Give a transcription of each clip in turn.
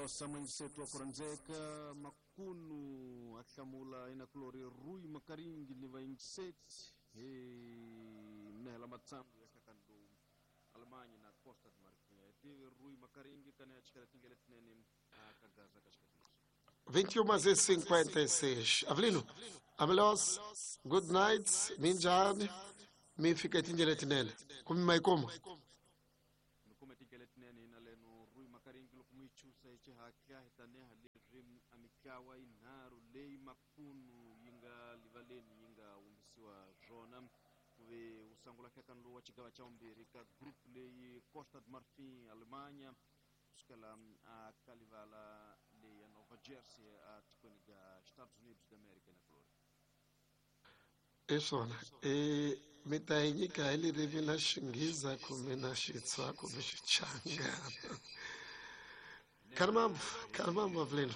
Malosa mwenzetu wa kuranzeka makunu ahlamula inakulori Rui Makaringi ni vaingiseti mnehela matsambu ya kakandu Alemanya na Costa de Marfim tive Rui Makaringi kana chikala tingele tinene akagaza kashikati 21h56. Avelino, Amelos, good night, minjani, mi fika tingele tinene. Kumi maikomo. Mikome tingele tinene ina leno Rui Makaringi lokumuichusa ichi hakya hitaneha lirim amikawa inharu lei makunu yinga livaleni yinga umbisiwa zona kuve usangula kakanlu wa chigawa cha umbiri ka group lei Costa de Marfim Alemanha kusukela akalivala lei ya Nova Jersey a tikweni ga Estados Unidos da América na Flórida. Isona, e mitayinyika hi ririmi la Xinghiza kumbe na Xitswa kumbe Xichangana. Caramba, caramba, Avelino.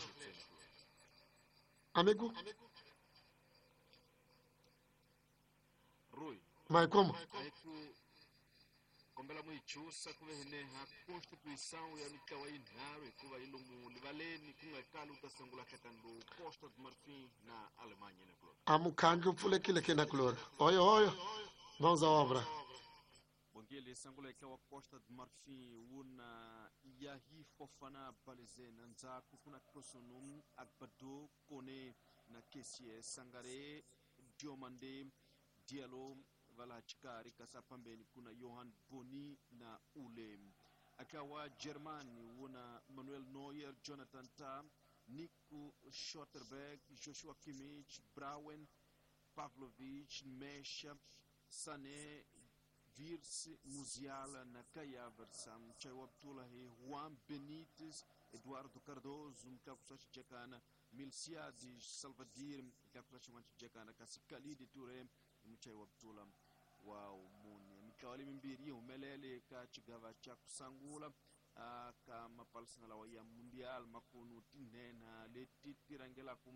Amigo, Rui, maikomo. aiku kombela muichusa kuve hineha constituição ya mikawa inharu hikuva yi lomu livaleni ku nga kali u ta sungula hlakandu Costa de Marfim na Alemanha na Flórida. Amukhandlu pfulekile ke na kulori. Oyo, oyo, mãos à obra. Bongele sangula eka wa Costa de Marfim wuna Yahi Fofana Balize na ndzhaku kuna Kosunu Agbado Kone na Kessie Sangare Diomande Diallo vala chikari kasi pambeni kuna Johan Boni na Ule akawa Germani wuna Manuel Neuer Jonathan Tah Nico Schotterberg Joshua Kimmich Brauen Pavlovic Mesha Sané Virse Musiala na Kai Havertz Mchai Abdullahi Juan Benítez Eduardo Cardoso Mkakusachi Jakana Milciades Salvadir Mkakusachi Wanchi Jakana kasi Khalid Touré Mchai Abdullah wa umuni mikawali mimbiri yi humelele ka chigava cha kusangula ka mapalisana lawa ya mundial makunu tinhenha leti ti rhangelaku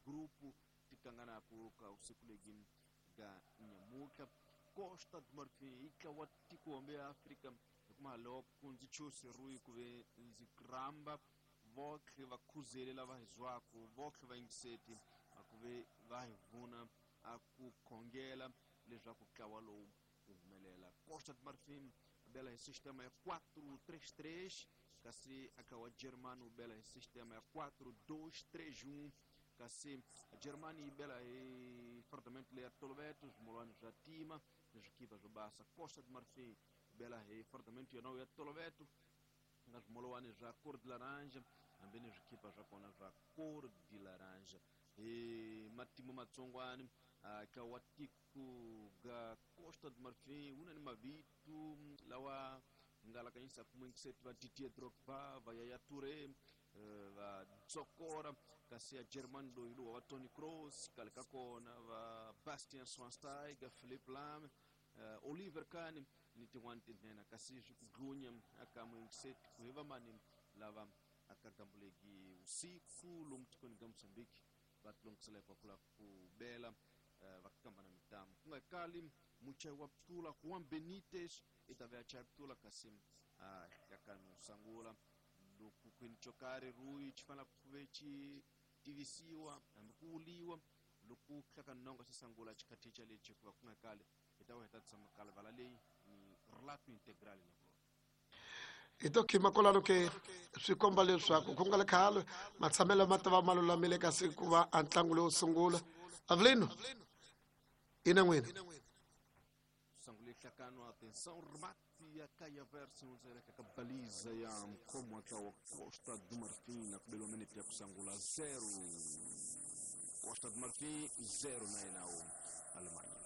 grupu ti kanganaku ka usiku legi ga nyamutlha Costa do Marfim ika wa tiko wambe ya Afrika hikuma loko ndzi chose Rui kuve ndzi ramba votlhe va khuzele lava hi zwaku votlhe va yingiseti akuve va hi vuna a ku khongela leswaku ntlawa lowu wu humelela Costa do Marfim bela hi sistema ya 4-3-3 kasi aka wa Germany wu bela hi sistema ya 4-2-3-1 kasi Germany yi bela hi fardamento leya toloveto swimolwani swa tima ni swikipa swo basa Costa do Marfim bela hi fardamento yona ya toloveto nga swimolwani swa cor de laranja hambi ni swikipa swa kona swa cor de laranja hi matimu matsongwani ka wa tiko ga Costa do Marfim wu na ni mavito lawa nga lakanyisa kumwengiseti va Didier Drogba va Yaya Touré va Dzokora kasi ya Germany loyi lowa va Toni Kroos kale ka kona va Bastian Schweinsteiger Philipp Lahm Oliver Kahn ni tin'wani tinhenha kasi swi ku dlunya aka mwengiseti ku hi vamani lava aka gambuleki usiku lomu tikweni ga Mozambique va tilongisela ku la ku bela va kamba na mitamu ku nga kali muchai wa ptula Juan Benítez i ta ve a chaya ptula kasi yakanu sangula loko kwini chokari Rui xi fanele ku ve xi tivisiwa hambi ku vuliwa loko hlakanongo xi sangula xikhathicha lexi hikuva ku nga kali hi ta va hi ta tshama kala vala leyi ni relato integral na kulona Hi to khima kwalano ke swi komba leswaku ku nga le khale matshamelo ma ta va ma lulamile kasi ku va a ntlangu lowo sungula. Avelino, ina n'wina. Sangule hlakano atenção remate ya Kai Havertz unzeleka ka baliza ya mkomo wa Costa do Marfim na kubelwa minute ya kusangula 0 Costa do Marfim 0 na enao Alemanha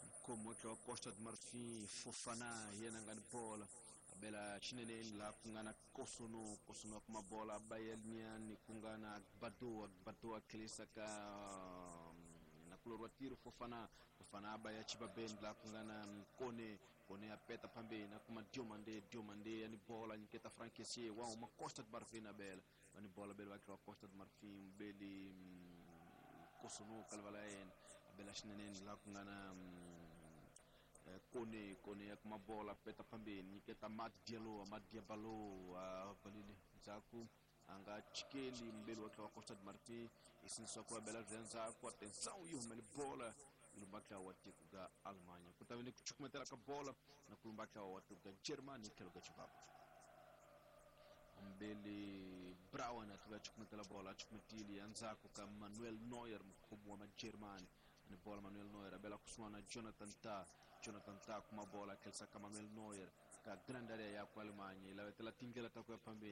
mkomo wa Costa do Marfim Fofana yena ngani bola abela chinene la kungana Kosono Kosono kuma bola Bayelnian kungana Agbado Agbado akilisa ka na kulorwa tiro Fofana Fofana abaya chibaben la kungana Kone Kone apeta pambe na kuma Diomande Diomande yani bola nyiketa Frankesie wa uma Costa do Marfim na bela yani bola bela wa Costa do Marfim beli Kosono kalvala en abela chinene la kungana Kone Kone ya kuma bola peta phambeni nyiketa Mat Diallo, Mat Diabalo a balile ndzhaku a nga chikeli mbeli wa tlawa Costa de Marfin isinisiwa ku bela bya ndzhaku. Atenção, yi humele bola yi lumba ntlawa wa tiko ga Alemanha. Ku ta ve ni ku chukumetela ka bola na ku lumba ntlawa wa tiko ga Germany tlhelo ka xivava. Mbeli Brown a tlhela a chukumetela bola, a chukumetile ya ndzhaku ka Manuel Neuer, mukhomi wa Magermani ni bola. Manuel Neuer a bela kusuhana na Jonathan Tah. Jonathan Tah kuma bola, a tlherisa ka Manuel Neuer ka grand area ya ku Alemanha yi lavetela tindlela ta ku ya phambeni.